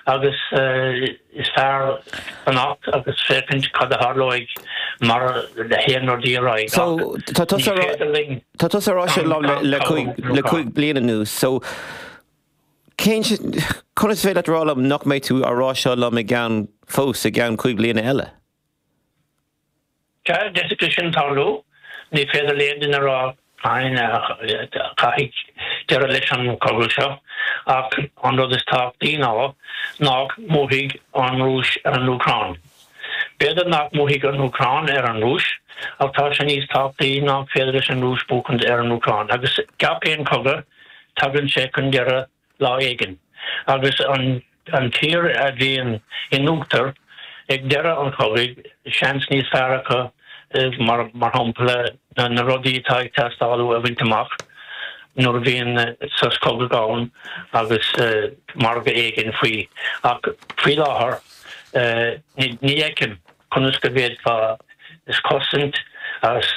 Agus is fearr fanacht agus féachaint cad a tharlóidh mar a théann rudaí ar aghaidh. So, tá tusa Ní féidir linn tá tusa ag rá sin liom le le 5 bliana anuas. So, cén conas is féidir leat rá liom nach mbeidh tú á rá seo liom i gceann fós i gceann 5 bliana eile? Sea, d'fhéadfadh sé sin tarlú. Ní féidir le aon duine a rá cathain a thiocfaidh deireadh leis an chogadh seo, ach an rud is tábhachtaí ná nach mbuafaidh an Rúis ar an Úcráin. B'fhéidir nach mbuafaidh an Úcráin ar an Rúis, ach tá sé níos tábhachtaí nach féidir leis an Rúis buachaint ar an Úcráin. Agus gach aon chogadh, tagann sé chun deireadh lá éigin, agus an an tír a bhíonn in uachtar ag deireadh an chogaidh, seans níos fearr acu, mar mar shampla, na rudaí atá ag teastáil uathu a bhaint amach nuair a bhíonn sos cogaidh ann agus margadh éigin faoi. Ach faoi láthair, ní fheicim Conas go bhféadfá cosaint,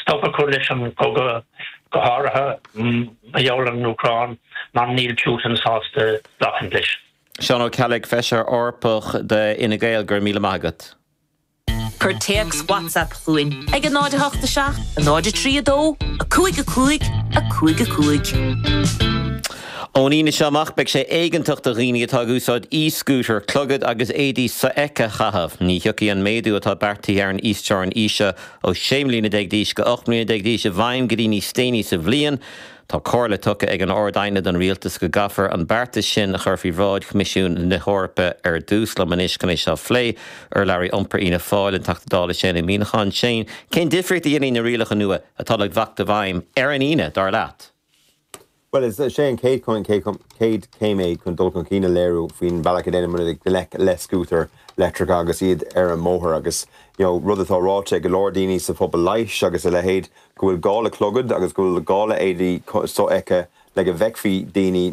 stop a chur leis an gcogadh, go háirithe mar gheall ar an Úcráin, mar níl Putin sásta glacadh leis. Seán Ó Ceallaigh, Feisire Eorpach d'Fhine Gael, go raibh míle maith agat. Cuir téacs WhatsApp chugainn ag 0 8 7 0 3 2 5 5 5 5. Ón Aoine seo amach, beidh sé éigeantach do dhaoine atá ag úsáid e-scooter clogad agus éadaí sofheicthe a chaitheamh. Ní thiocfaidh an méadú atá beartaithe ar an íosteorainn aoise ó 16 mbliana d'aois go 18 mbliana d'aois i bhfeidhm go dtí níos déanaí sa bhliain. Tá comhairle tugtha ag an Ard-Aighne don Rialtas go gcaithfear an beartas sin a chur faoi bhráid Choimisiún na hEorpa ar dtús. Liom anois chun é seo a phlé, urlabhraí iompair Fhianna Fáil, an Teachta Dála Shane Ó Muíneacháin. Shane, cén difríocht a dhéanfaidh na rialacha nua atá le teacht i bhfeidhm ar an Aoine, dar leat? Bhuel, is é an chéad chéim é chun dul chun cinn a léiriú faoin bhealach a ndéanann muid gleic le scútair leictreacha agus iad ar an mbóthar agus you know rud atá ráite ag go leor daoine sa phobal leighis agus a leithéid go bhfuil gá le clogad agus go bhfuil gá le éadaí sofheicthe le go bhfeicfí daoine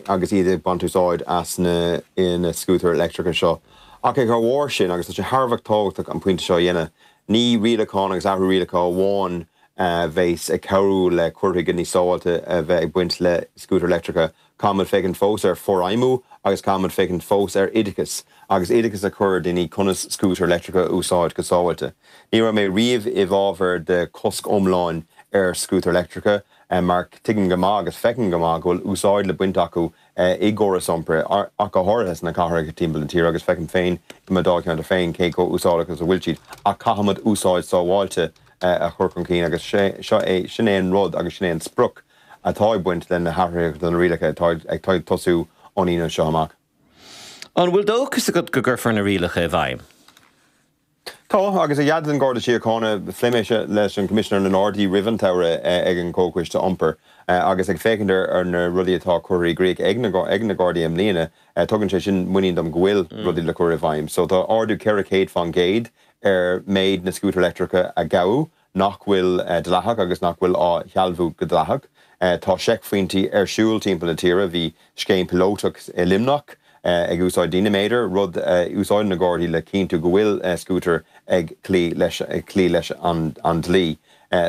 agus iad ag baint úsáid as na na scútair leictreacha seo. Ach ag a bharr sin, agus tá sé thar a bheith tábhachtach an pointe seo a dhéanamh, ní rialachán agus athrú rialacha amháin a bheas ag cabhrú le cur chuige níos sábháilte a bheith ag baint le scútair leictreacha. Caithfimid féachaint fós ar forfheidhmiú agus caithfimid féachaint fós ar oideachas agus oideachas a chur ar daoine conas scútair leictreacha a úsáid go sábháilte. Ní raibh mé riamh i bhfabhar de chosc iomlán ar scútair leictreacha mar tuigim go maith agus feicim go maith go bhfuil úsáid le baint acu i gcóras iompair, ach go háirithe sna cathracha timpeall na tíre, agus feicim féin i mo dháilcheantar féin cé chomh úsáideach is a bhfuil siad, ach caithfimid úsáid sábháilte a chur chun cinn agus seo é, sin é an rud agus sin é an sprioc atá ag baint le na hathruithe do na rialacha atá ag tosú ón Aoine seo amach. An bhfuil dóchas agat go gcuirfear na rialacha i bhfeidhm? Tá, agus a dhath den Gharda Síochána, phléigh mé seo leis an Choimisinéir na nGardaí roimh an tsamhradh ag an Chomhchoiste Iompair agus ag féachaint ar na rudaí atá curtha i gcrích ag na Gardaí i mbliana, tugann sé sin muinín dom go bhfuil rudaí le cur i bhfeidhm. So tá ardú 400% ar méid na scútair leictreacha a gabhadh nach bhfuil dleathach agus nach bhfuil á shealbhú go dleathach. Tá seicphointí ar siúl timpeall na tíre. Bhí scéim píolótach i Luimneach ag úsáid dínaiméadar, rud a úsáideann na Gardaí le cinntiú go bhfuil scútair ag cloí leis ag cloí leis an dlí.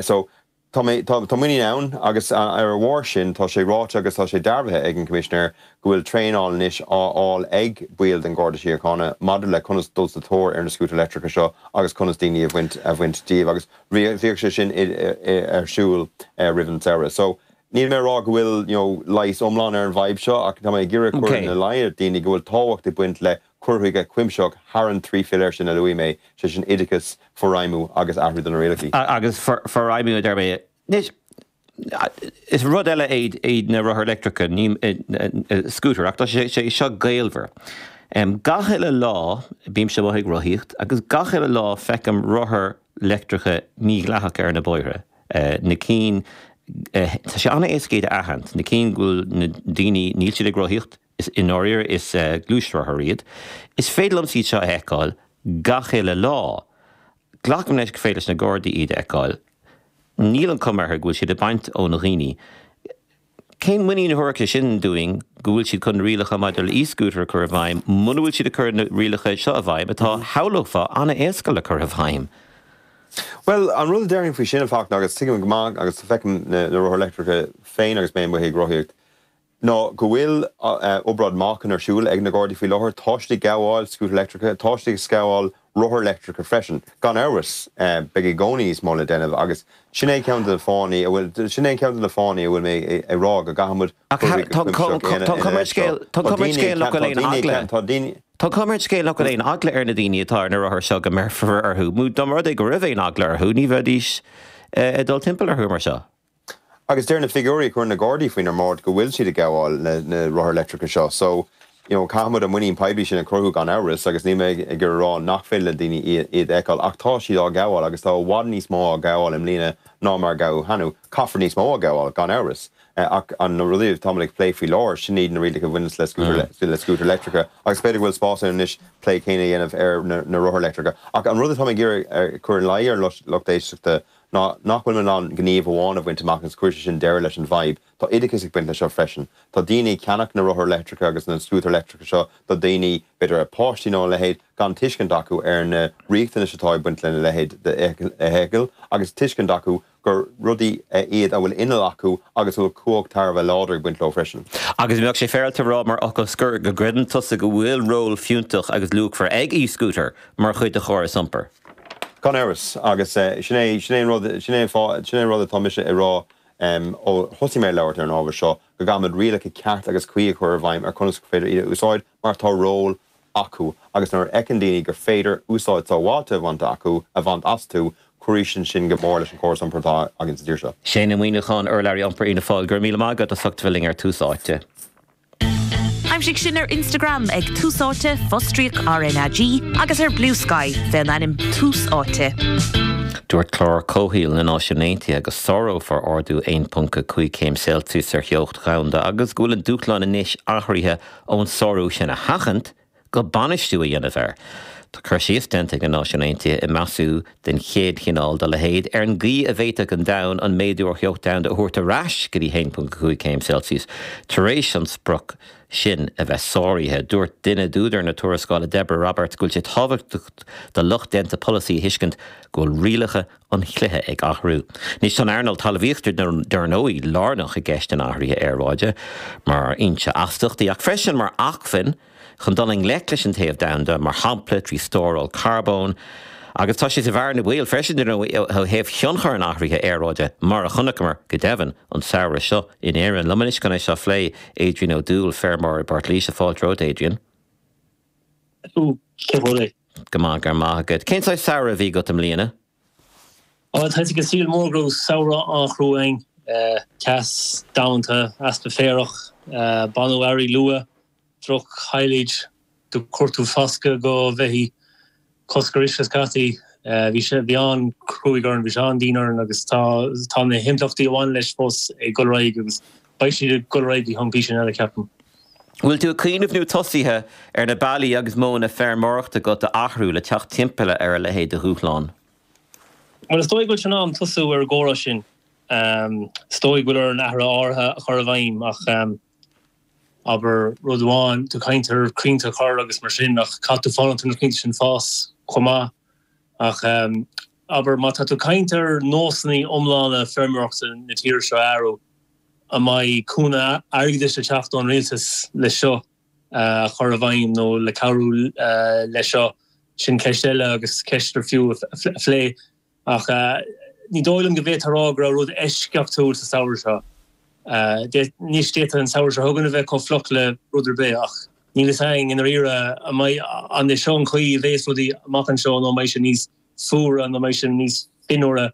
So tá mé tá muinín ann agus ar a bharr sin tá sé ráite agus tá sé dearbhaithe ag an Choimisinéir go bhfuil traenáil anois á fháil ag baill den Gharda Síochána maidir le conas dul sa tóir ar na scútair leictreacha seo agus conas daoine a bhaint a bhaint díobh agus bhíodh sé sin ar siúl roimh an samhradh. So níl mé ag rá go bhfuil you know leigheas iomlán ar an bhfadhb seo ach tá mé ag iarraidh cur ina luí ar dhaoine go bhfuil tábhacht ag baint le cur chuige cuimsitheach thar an trí philéar sin a luaigh mé, sé sin oideachas, forfheidhmiú agus athrú do na rialacha. Agus forfheidhmiú a deir mé. Anois, Is rud eile iad na rothair leictreacha, ní scútair, ach tá sé seo gaolmhar. Gach uile lá bímse amuigh ag rothaíocht agus gach uile lá feicim rothair leictreacha mídhleathacha ar na bóithre, na cinn, tá sé an-éasca iad a aithint, na cinn go bhfuil na daoine, níl siad ag rothaíocht, is i ndáiríre is gluaisrothair iad. Is féidir liomsa iad seo a fheiceáil gach uile lá. Glacaim leis gur féidir leis na Gardaí iad a fheiceáil. Níl an chuma orthu go bhfuil siad ag baint ó na dhaoine. Cén muinín a thabharfadh sé sin dúinn go bhfuil siad chun na rialacha maidir le e-scooter a chur i bhfeidhm muna bhfuil siad ag cur na rialacha seo i bhfeidhm atá, shamhlófá, an-éasca le cur i bhfeidhm? Bhuel, an rud a déarfainn faoi sin, a Fachtna, agus tuigim go maith agus feicim na rothair leictreacha féin agus mé amuigh ag rothaíocht. Ná go bhfuil obráid meáchain ar siúl ag na Gardaí faoi láthair. Tá siad ag gabháil scútair leictreacha, tá siad ag gabháil rothair leictreacha freisin. Gan amhras, beidh i gcónaí níos mó le déanamh agus sin é ceann de na fáthanna a bhfuil, sin é ceann de na fáthanna a bhfuil mé ag rá go gcaithfidh muid Ach tá tá cuma ar an scéal, tá cuma ar an scéal nach bhfuil aon eagla. Tá daoine. Tá cuma ar an scéal nach bhfuil aon eagla ar na daoine atá ar na rothair seo go mbéarfar orthu. Dá mba rud é go raibh aon eagla orthu, ní bheidís ag dul timpeall orthu mar seo. Agus deir na figiúirí a chuireann na Gardaí faoinár mbráid go bhfuil siad ag gabháil na rothair leictreacha seo. So, you know, caithfidh muid an muinín poiblí sin a chruthú gan amhras agus níl mé ag iarraidh a rá nach féidir le daoine iad a fheiceáil ach tá siad á gabháil agus tá i bhfad níos mó á gabháil i mbliana ná mar a gabhadh cheana. Caithfear níos mó a ghabháil, gan amhras. Ach an na rudaí atá muid ag plé faoi láthair, sin iad na rialacha a bhaineanns le scútair le scútair leictreacha agus b'fhéidir go bhfuil spás ann anois plé céanna a dhéanamh ar na rothair leictreacha. Ach an rud atá mé ag iarraidh a chur ina luí ar an lucht éisteachta ná nach bhfuil muid in ann gníomh amháin a bhaint amach agus cuirfidh sé sin deireadh leis an bhfadhb. Tá oideachas ag baint leis seo freisin. Tá daoine ag ceannach na rothar leictreacha agus na scútair leictreacha seo do dhaoine, b'fhéidir a páistí nó a leithéid, gan tuiscint acu ar na riachtanais atá ag baint lena leithéid d'fheithicil agus tuiscint acu gur rudaí iad a bhfuil inneall acu agus a bhfuil cumhacht thar a bheith láidir ag baint leo freisin. Agus an mbeadh sé féaráilte a rá mar fhocal scoir go gcreideann tusa go bhfuil ról fiúntach agus luachmhar ag e-scooter mar chuid de chóras iompair? Gan amhras, agus sin é, sin é an rud, sin é an fáth, sin é an rud atá mise ag rá ó thosaigh mé ag labhairt ar an ábhar seo, go gcaithfimid rialacha ceart agus cuí a chur i bhfeidhm ar conas gur féidir iad a úsáid mar tá ról acu agus nuair a fheiceann daoine gur féidir úsáid sábháilte a bhaint acu, a bhaint astu, cuirfidh sin go mór leis an chóras iompair atá againn sa tír seo. Shane Ó Muíneacháin, urlabhraí iompair Fhianna Fáil, go raibh míle maith agat as ucht a bheith linn ar Tús Áite. Aimsigh sinn ar Instagram ag Tús Áite, fostríoc RnaG, agus ar Bluesky fén ainm Tús Áite. Dúirt Clár Comhshaoil na Náisiún Aontaithe go sárófar ardú 1.5 céim Celsius ar theocht dhomhanda agus go bhfuil an dúshlán anois athruithe ón sárú sin a sheachaint go bainistiú a dhéanamh air. Tá cur síos déanta ag na Náisiúin Aontaithe i measúnú den chéad chineál dá leithéid ar an gcaoi a bhféadfadh an domhan an méadú ar theocht domhanda a thabhairt ar ais go dtí 1.5 céim Celsius tar éis an sprioc sin a bheith sáraithe. Dúirt duine d'údair na tuarascála, Deborah Roberts, go bhfuil sé tábhachtach do lucht déanta polasaí a thuiscint go bhfuil rialacha an chluiche ag athrú. Anois tá an earnáil talmhaíochta dar ndóigh lárnach i gceist an athraithe aeráide mar fhoinse astaíochtaí ach freisin mar acmhainn chun dul i ngleic leis an téamh domhanda, mar shampla trí stóráil carbóin. Agus tá sé sa bhearna baoil freisin dar ndóigh ó thaobh thionchar an athraithe aeráide mar a chonaiceamar, go deimhin, an samhradh seo in Éirinn. Liom anois chun é seo a phlé, Adrian Ó Dúill, feirmeoir i bPort Laoise. Fáilte romhat, Adrian. Cén chaoi? Go maith, go raibh maith agat. Cén saghas samhradh a bhí agat i mbliana? Tá sé cosúil mór go raibh samhradh an-chrua againn. Teas domhanda, easpa féarach, baineadh earraigh luath, droch-shilage, do chuir tú foscadh do bheithígh, cosc ar uisce scaití. Bhí sé, bhí an-chruaidh orainn, bhí sé an-dian orainn agus tá, tá na himpleachtaí a bhaineann leis fós ag dul ar aghaidh agus beidh siad ag dul ar aghaidh go ceann píosa eile, ceapaim. Bhfuil tú ag cuimhneamh nó tosaithe ar na bealaí agus modhanna feirmeoireachta agat a athrú le teacht timpeall ar a leithéid de dhúshlán? Bhuel, is dóigh go bhfuil sé in am tosú ar an gcomhrá sin. Is dóigh go bhfuil orainn athruithe áirithe a chur i bhfeidhm ach, abair, rud amháin, tú ag caint ar crainnte a chur agus mar sin ach caithfidh tú fanacht ar na crainnte sin fás chomh maith. Ach, abair, má tá tú ag caint ar nósanna iomlána feirmeoireachta na tíre seo a athrú, An mbeidh cúnamh airgeadais ag teacht ón rialtas le seo a chur i bhfeidhm nó le cabhrú leis seo? Sin ceist eile agus ceist ar fiú a phlé. Ach ní dóigh liom go bhféadfá a rá go raibh rud eisceachtúil sa samhradh seo. Anois d'fhéadfadh an samhradh seo chugainn a bheith chomh fliuch le rud ar bith ach níl fhios againn i ndáiríre an mbeidh, an é seo an chaoi a bheas rudaí amach anseo nó an mbeidh sé níos fuaire nó an mbeidh sé níos fionnuaire.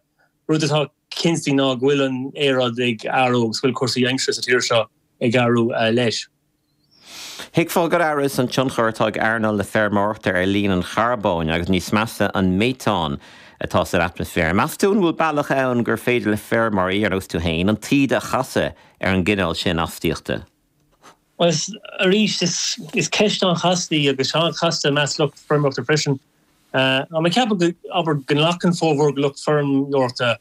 Rud atá cinnte ná go bhfuil an aeráid ag athrú agus go bhfuil cúrsaí aimsire sa tír seo ag athrú leis. Thuigfeá gan amhras an tionchar atá ag earnáil na feirmeoireachta ar líon an charbóin agus níos measa an méatán atá san atmaisféar. Meas tú an bhfuil bealach ann gur féidir le feirmeoirí, ar nós tú féin, an taoide a chasadh ar an gcineál sin astaíochta? Bhuel, arís, is ceist an-chasta í agus an-chasta i measc lucht feirmeoireachta freisin. Tá mé ag ceapadh go, abair, go nglacann formhór de lucht feirmeoireachta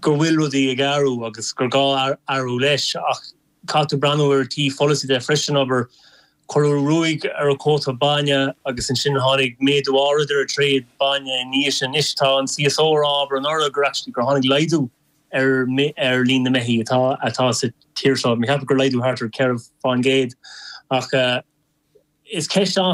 go bhfuil rudaí ag athrú agus gur gá athrú leis ach caithfidh tú breathnú ar an taobh pholasaí de freisin, abair, cuireadh ruaig ar an cuóta bainne agus ansin tháinig méadú áirid ar an tréad bainne ina dhiaidh sin. Anois tá an CSO ag rá, abair, anuraidh gur actually gur tháinig laghdú. ar ar líon na mbeithígh atá atá sa tír seo. Mé ag ceapadh gur laghdú thart ar 4% ach is ceist an.